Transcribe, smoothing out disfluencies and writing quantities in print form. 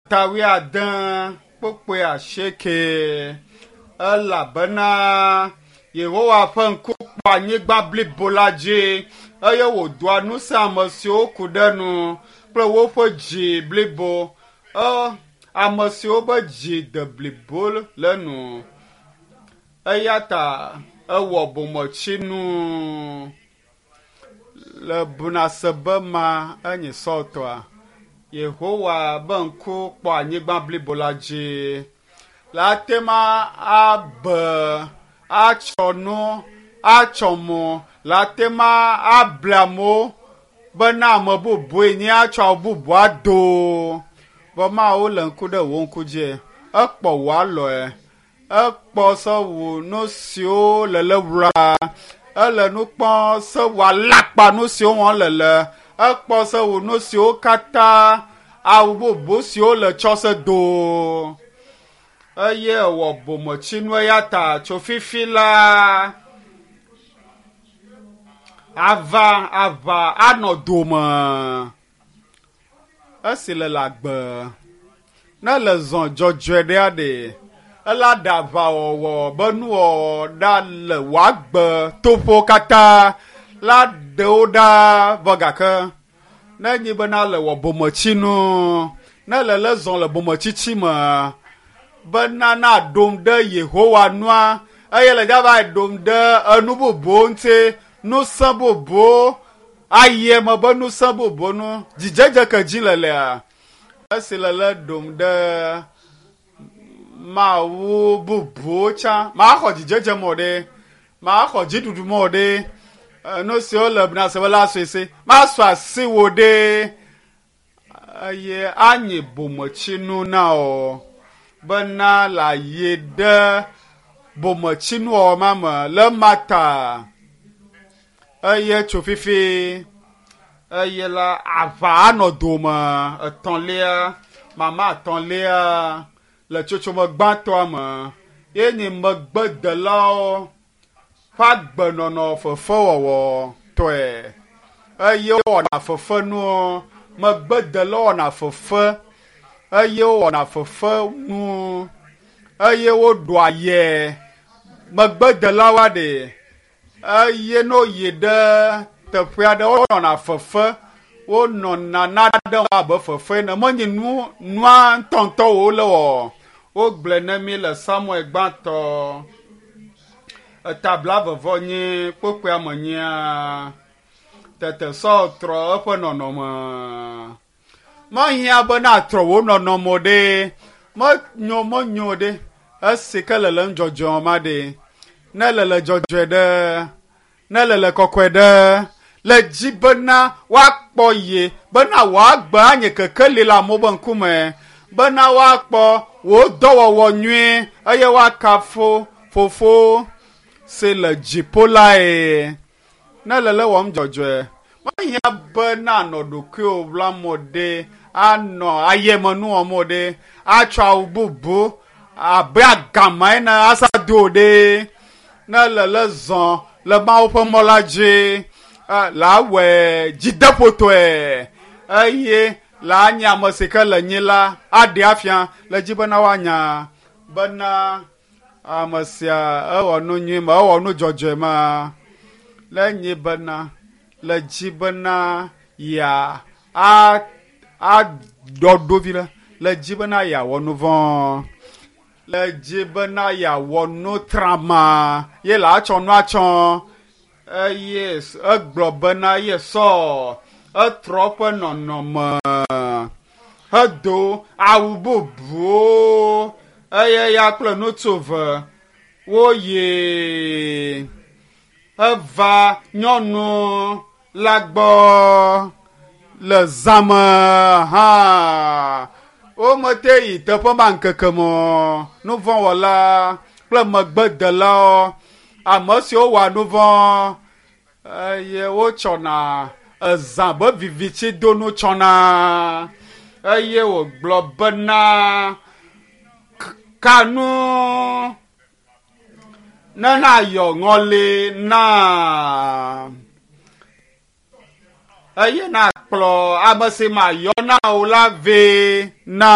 Eta wuiade kpukpui asieke elabena Yehowa ƒe ŋku kpɔ anyigba blibo la dzi eye wòdoa ŋusẽ ame siwo ku ɖe nu kple woƒe dzi blibo. E, ame siwo ƒe dzi de blibo le nu. Eya ta ewɔ bometsinu le bunasebe ma enyi Saul tɔa. Yehowa be ŋku kpɔ anyigba blibo la dzi. Le ate ma abe atsɔ nu atsɔ mo le ate ma able amewo bena ame bubue nye atsɔ awu bubu ado. Vɔ Mawu le ŋku ɖe wò ŋku dzi. Ekpɔ wò alɔe. Ekpɔ se wò nu siwo le le wla. Ele nu kpɔm se wò alakpa nu siwo wɔm le le. Ekpɔ se wò nu siwo katã awu bubu siwo le tsɔ se do. Eye ewɔ bometsinu eya ta tso fifi la ava aʋa anɔ dome. Esi le le agbe ne le zɔ dzɔdzɔe ɖea ɖe ela ɖe aʋawɔwɔ be nuwɔwɔ ɖa le wòagbe toƒewo katã la ɖewo ɖa vɔ gake ne nyi bena le wɔ bometsinu ne le le zɔ le bometsitsi me bena na ɖom ɖe Yehowa nua eye le dzava ɖom ɖe enu bubuwo ŋuti ŋusẽ bubuwo ayi eme be ŋusẽ bubuwo nu dzidzedze ke dzi le lea esi le le ɖom ɖe Mawu bubuwo tsã maxɔ dzidzedze mɔ ɖe maxɔ dziɖuɖu mɔ ɖe nu siwo le bnasebe la sue masɔ asi wò ɖe eye anyi bometsinu na wò bena le ayi ɖe bometsinuwɔwɔ ma me le ema ta eye tso fifi eye la aʋa anɔ dome etɔ̃lia mama etɔ̃lia le tsotsome gbãtɔa me ye nye megbedelawo ƒe agbenɔnɔ fefewɔwɔ tɔe eye wowɔna fefenuwo megbedelawo wɔna fefe eye wowɔna fefenuwo eye woɖua yɛ megbedelawoa ɖe eye ne woyi ɖe teƒe aɖe wonɔna fefe wonɔna nane abe fefe ene menye nu nua ŋutɔŋutɔ wole wɔ wogblɔe ne mi le Samuel gbãtɔ eta blaeve nyi kpokpoea me nyia tete Saul trɔ eƒe nɔnɔme. Mehiã be natrɔ wò nɔnɔme o ɖe. Menyo menyo ɖe. Esi ke le le nudzɔdzɔe ma ɖe. Ne le le dzɔdzɔe ɖe. Ne le le kɔkɔe ɖe. Le dzi bena woakpɔ ye bena wòagbe anye kekeli le amewo be ŋkume. Bena woakpɔ wò dɔwɔwɔ nyuie eye woakafu fofo si le dziƒo lae. Ne le le wɔm dzɔdzɔe. Mehiã be nanɔ ɖokuiwò ɣlam o ɖe, anɔ ayemenu wɔm o ɖe, atsɔ awu bubu abe agama ene asa do o ɖe. Ne le le zɔ le Mawu ƒe mɔ la dzi, la awɔe dzideƒotɔe eye la anye ame si ke le nyi la aɖee afia le dzi bena woanya bena ame sia ewɔ nu nyui ma ewɔ nu dzɔdzɔe ma le nyi bena le dzi bena ya a aɖɔ ɖo vi ɖe le dzi bena yeawɔ nu vɔ̃ le dzi bena yeawɔ nu trama ye la atsɔ nu atsɔ eye egblɔ bena ye sɔ etrɔ ƒe nɔnɔme hedo awu bubuwo eye ya kple ŋutsu eve woyi heva nyɔnu la gbɔ le zã me hã. Womete yi teƒe ma ŋkeke me o. Nuvɔ̃wɔla kple megbedelawo, ame siwo wɔa nuvɔ̃ eye wotsɔna ezã be vivitsidonu tsɔna eye wògblɔ bena kanu ne nayɔ ŋɔli na eye nakplɔ ame si mayɔ na wò la vɛ na.